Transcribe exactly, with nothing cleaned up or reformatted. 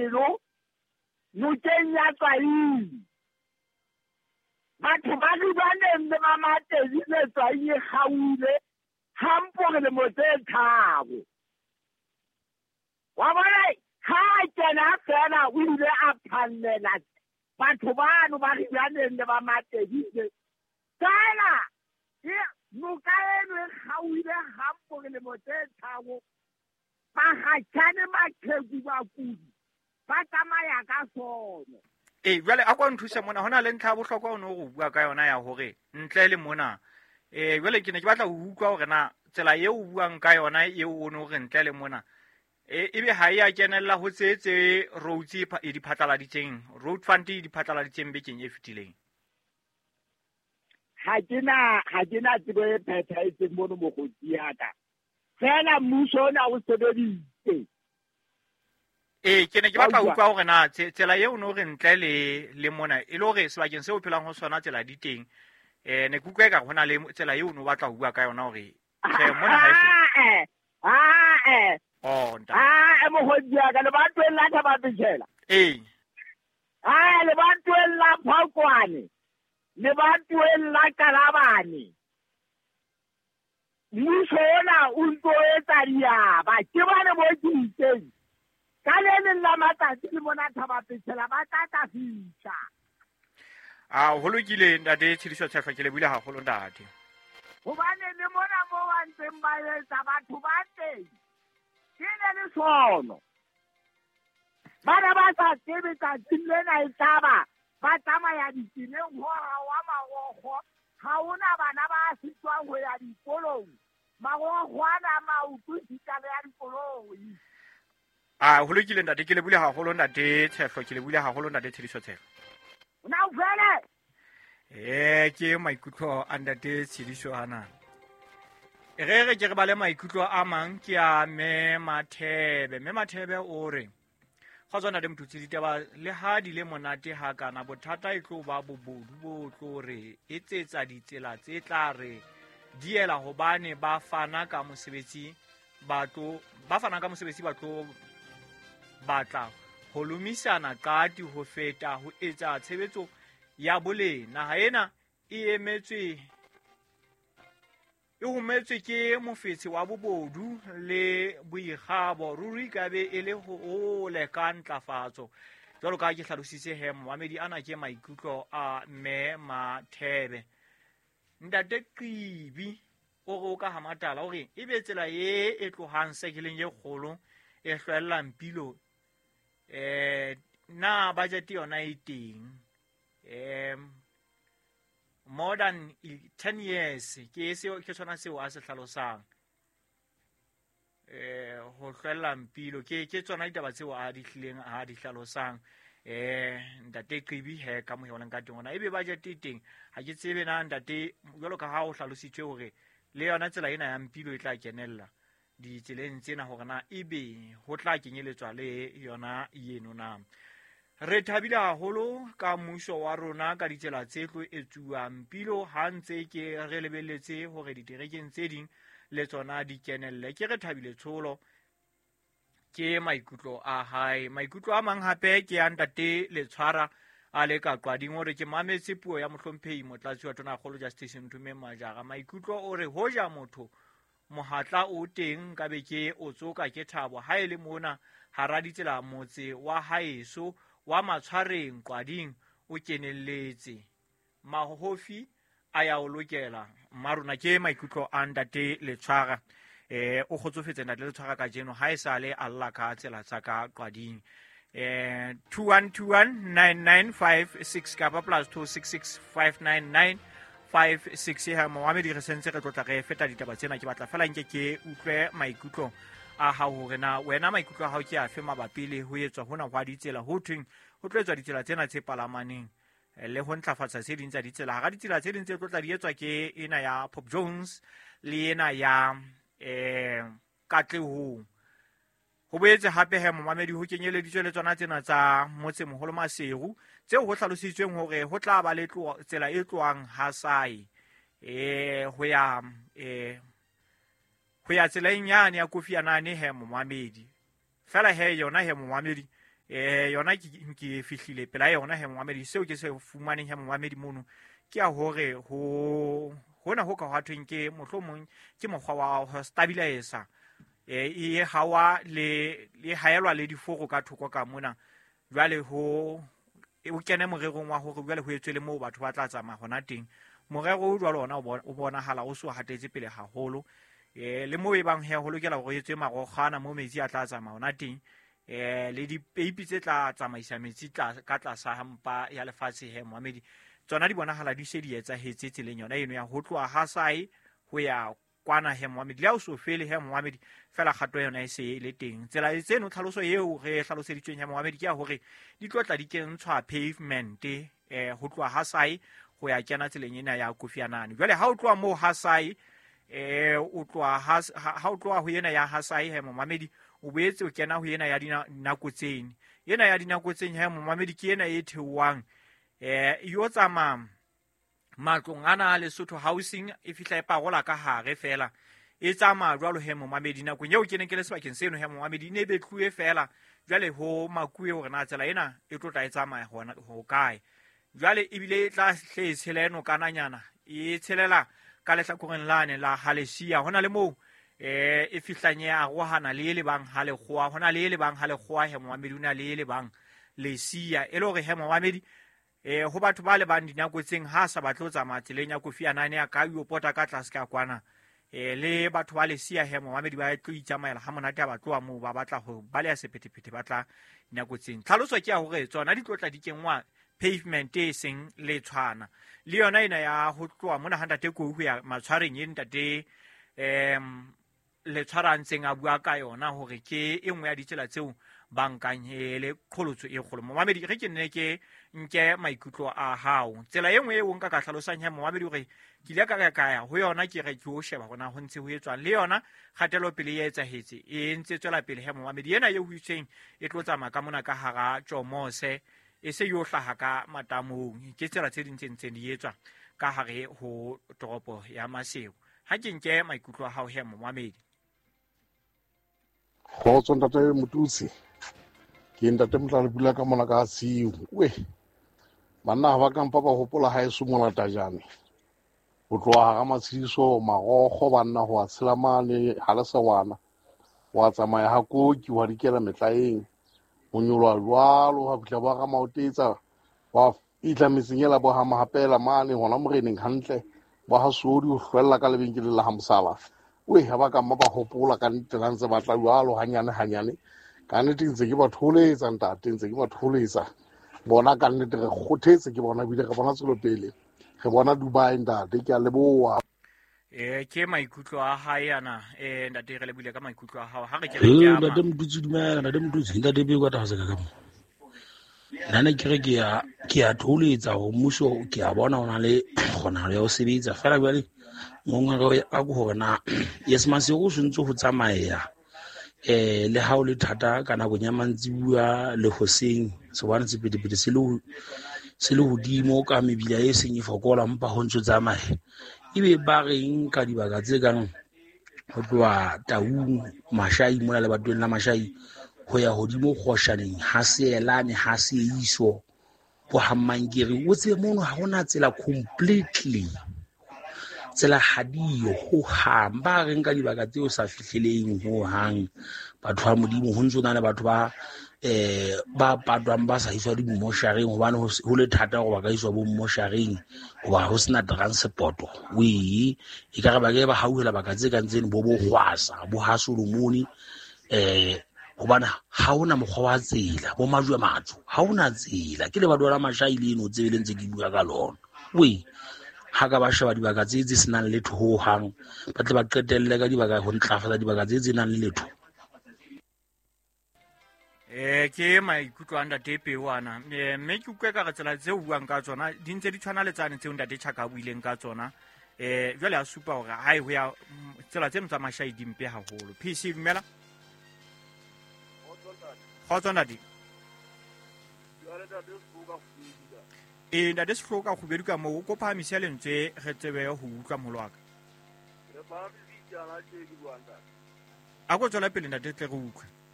pelo nokeng ya Tswaing. Batho ba Ribaneng le ba Matedi le Tswaing e kgaohile hampo re lemo tse tharo. Wa bona ha a kena fela o ile a phallela batho bano ba Ribaneng le ba Matedi. Fela e noka eno e kgaohile hampo re lemo tse tharo. Bakgatjhane maqheku bakudi ba tsamaya ka sono. Ee, jwale a kwa nthuse mona, ho na le ntlha ya bohlokwa o no go bua ka yona ya hore ntle le mona. Eh jwale ke ne ke batla ho utlwa hore na tsela eo o buang ka yona eo o no re ntle le mona e ebe ha e a kenella ho tse tse roads e pha- e di phatlaladitseng, road fund e di phatlaladitseng bekeng e fetileng. Ha ke na ha ke na tsebo e phethahetseng mono mokgotsi ya ka. Fela mmuso ona o sebeditse. Ee, ke ne ke Wa batla ho utlwa? utlwa hore na tse- tsela eo o no re ntle le le mona e le hore sebakeng seo o phelang ho sona tsela di teng. Eh ne ke utlwa ekare ho na le tsela eo o no batla ho bua ka yona hore tjhe mona ha e so. Ah, ah, Oh, ntate. ah, mokgotsi ya ka lebatoweng la Thaba-Botjhela. Ee. Ah, lebatoweng la Phokwane. Lebatoweng la Kalabane. Mmuso ona o ntso etsa diaba. Ke bane mo ke itseng. Ka le leng la matsatsi le mona Thaba-Botjhela ba tla tla fihla. Ah, ho lokile ntate Tshidiso Tshehlo, ke lebohile haholo ntate. Hobane le mona mo ba ntseng ba etsa batho ba teng ke ne le sono. Bana ba sa tsebe tsatsing lena e tlaba ba tsamaya ditseleng ho wa marokgo. Ha hona bana ba sitwang ho ya dikolong. Marokgo ana maoto sita le ya dikoloi. Ah, ho lokile ntate, ke lebohile haholo ntate Tshehlo, ke lebohile haholo ntate Tshidiso Tshehlo. Na o fele? Eh, ke maikutlo a ntate Tshidiso ana. Re re ke re bale maikutlo a mang ke a Mme Mathebe. Mme Mathebe o re kgotso ntate Mothusi, ditaba le ha di le monate hakana, bothata e tlo ba bobodu bo tlo re etsetsa ditsela tse tla re diela hobane ba fana ka mosebetsi ba tlo, ba fana ka mosebetsi ba tlo batla ho lomisana qati ho feta ho etsa tshebetso ya boleng. Naha ena e emetswe e hometswe ke mofetshe wa bobodu le boikgabo. Ruri ka be e le hole ka ntlafatso. Jwalo ka ha ke hlalositse he, momamedi ana ke maikutlo a Mme Mathebe. Ntate Qibi o re o ka ha Matala, o re ebe tsela e e tlohang sekeleng e kgolo e hlwellang pilo, eh na budget yona e teng? Eh more than ten years ke seo, ke sona seo a se hlalosang. Eh ho hlwella mpilo ke ke tsona ditaba tseo a di hlileng a di hlalosang. Eh ntate Qibi he ka mohelang ka teng ona ebe budget e teng. Ha ke tsebe na ntate, jwalo ka ha o hlalositswe hore le yona tsela ena ya mpilo e tla kenella ditseleng tsena hore na ebe ho tla kenyeletswa le yona eno na. Re thabile haholo ka mmuso wa rona ka ditsela tse tlo etsuwang mpilo ha ntse ke re lebelletse hore diterekeng tse ding le tsona di kenelle. Ke re thabile tsholo ke maikutlo a hae. Maikutlo a mang hape ke a ntate Letshwara a le ka Qwading, o re ke mametse puo ya mohlomphehi Motlatsi wa Tonakgolo Justice Nthumeng Majara. Maikutlo o re hoja motho mohatla o teng nka be ke o tsoka ke thabo ha e le mona hara ditsela motse wa haeso wa Matshwareng Qwading o kenelletse. Mahofi a ya o lokela. Mmarona ke maikutlo a ntate Letshwara. Eh o kgotsofetse ntate Letshwara kajeno ha e sale a lla ka tsela tsa ka Qwading. Eh two one two one nine nine five six kapa plus two six six five nine nine five six. Ha momamedi re sentse re tlotla re feta ditaba tsena, ke batla fela nke ke utlwe maikutlo a hao hore na wena maikutlo a hao ke afe mabapi le ho etswa hona hwa ditsela. Ho thweng ho tlo etswa ditsela tsena tse palamaneng le ho ntlafatsa tse ding tsa ditsela. Hara ditsela tse ding tse tlo tla di etswa ke ena ya Pop Jones le ena ya eh Katlehong. Ho boetse hape he momamedi ho kenyeleditswe le tsona tsena tsa motsemoholo Maseru tseo ho hlalositsweng hore ho tla ba le tlo-, tsela e tlohang Hasae eh ho ya, eh, ho ya tseleng yane ya Kofi Anane he momamedi. Fela he yona he momamedi Eh yona ke ke fihlile pela yona he momamedi, seo ke se fumaneng he momamedi mono ke ya hore ho hona ho ka hwathweng ke mohlomong ke mokgwa wa ho stabilize eh e hawa le le haelwa le diforo ka thoko ka mona. Jwale ho o kene morerong wa hore jwale ho etswe le moo batho ba tla tsamaya hona teng. Morero o jwalo ona o bonahala o so hatetse pele haholo. Eh le moo e bang he ho lokela hore etswe marokgwana mo metsi a tla tsamaya hona teng. Eh le dipeipi tse tla tsamaisa metsi tla ka tlasa hampa ya lefatshe he momamedi, tsona di bonahala di se di etsahetse tseleng yona eno ya ho tloha ha sae ho ya kwana he momamedi. Le ha o so fele he momamedi, fela kgato yona e se e le teng. Tsela tseno tlhaloso eo re hlaloseditsweng he momamedi ke ya hore di tlo tla di kentshwa pavement eh ho tloha ha sae ho ya kena tseleng ena ya Kofi Annan. Jwale ha o tloha moo ha sae eh o tloha ha ha o tloha ho ena ya ha sae he momamedi, o boetse o kena ho ena ya dinako tseng. Ena ya dinako tseng he momamedi ke ena e theohang eh yo tsamaya matlong ana a Lesotho Housing, e fihla e parola ka hare fela e tsamaya jwalo he momamedi. Nakong eo ke neng ke le sebakeng seno he momamedi, ne be tluwe fela jwale ho makuwe hore na tsela ena e tlo tla e tsamaya hona ho kae. Jwale ebile e tla hle e tshela eno kananyana e tshelela ka lehlakoreng lane la Halesia. Hona le moo eh e fihlang ya arohana le le bang ha lekgowa, hona le le bang ha lekgowa he momamedi, ona le le bang Lesia. E le hore he momamedi eh ho batho ba le bang dinako tseng ha sa batle ho tsamaya tseleng ya Kofi Annan ya ka yo pota ka tlase ka kwana. Eh le batho ba Lesia he momamedi ba tlo itsamaela ha monate ha ba tloha moo ba batla ho baleha sephethephethe ba tla dinako tseng. Tlhaloso ke ya hore tsona di tlo tla di kengwa pavement e seng le tshwana le yona ena ya ho tloha mona ha ntate Kou ho ya matshwareng e ntate em le tshwara ntseng a bua ka yona hore ke e nngwe ya ditsela tseo ba nkang e le qholotso e kgolo. Momamedi re ke nne ke nke maikutlo a hao. Tsela e nngwe eo nka ka hlalosang he momamedi hore ke ile ka ka ya ho yona ke re ke o sheba hore na ho ntse ho etswang le yona kgatelopele e etsahetse e ntse tswela pele he momamedi. Ena eo ho itseng e tlo tsamaya ka mona ka hara Tjomose e se yo hlaha ka matamong. Ke tsela tse ding tse ntseng di etswa ka hare ho toropo ya Maseru. Ha ke nke maikutlo a hao he momamedi. Kgotso ntate Motutsi, ke ntate Motlale pula ka mona ka siu. We banna ha ba kampa ba hopola ha eso molatajane ho tloha hara Matshidiso marokgo banna ho a tshela mane ha le sewana wa tsamaya ha koki wa dikela metlaeng ho nyolwa jwalo ha fihla ba ga maotetsa wa fihla metseng ela bo ha mahapela mane hona moreneng hantle ba ha sodi ho hlwella ka lebenkeleng la ha Mosala. We ha ba ka mma ba hopola ka nnete la ntse ba tla jwalo hanyane hanyane. Ka nnete ntse ke ba tholetsa ntate, ntse ke ba tholetsa bona ka nnete re kgothetse ke bona ebile re bona tswelopele, re bona Dubai ntate. Ke a leboha. Eh ke maikutlo a hae ana eh ntate re lebile ka maikutlo a hao ha re ke re ke ntate Motutsi dumela ntate Motutsi ntate be kwa tlase ka ka mo nna ne ke re ke ya ke ya tholetsa ho mmuso ke a bona hona le kgonahalo ya ho sebetsa fela jwale ngongoreo ya ka hore na yes Maseru o ntse ho tsamaya eh le ha o le thata ka nakong ya mantsibuya le hoseng sebane sephethephethe se le se le hodimo ka mebila e seng e fokola mpa ho ntse tsamaya ebe ba reng ka dibaka tse kang ho tloha Taung Mashai mona le batweng la Mashai ho ya hodimo Kgoshaneng ha seelane ha seiso bo Hammankere o tsebe mono ha hona tsela completely tsela ha diyo ho hang. Ba reng ka dibaka tseo sa fihleleng ho hang batho ba Modimo ho ntso na le batho ba eh ba patwang ba sa iswa dimoshareng hobane ho le thata hore ba ka iswa bo moshareng hoba ho sena transport. We e ka re ba ke ba hauhela baka tse kang tseno bo bo Hwasa bo ha Solomon eh hobane ha hona mokgwa wa tsela bo majwe matso ha hona tsela ke le ba dwala Mashai le eno tsebe le ntse ke bua ka lona. We ha ka ba sheba dibaka tse tse senang letho ho hang ba tle ba qetelle ka dibaka ho ntlafatsa dibaka tse tse nang le letho. Eh ke maikutlo a ntate Pewana mme ke utlwe ka re tsela tseo buang ka tsona di ntse di tshwana le tsane tseo ntate Chaka a buileng ka tsona. Eh jwale a supa hore hae ho ya tsela tseno tsa Mashai di mpe haholo. P C dumela. Kgotso ntate. E ntate Sehloka kgubedu ka moo o ko phahamisa lentswe re tsebe ho utlwa moholo wa ka. A ko tswela pele ntate tle re utlwe.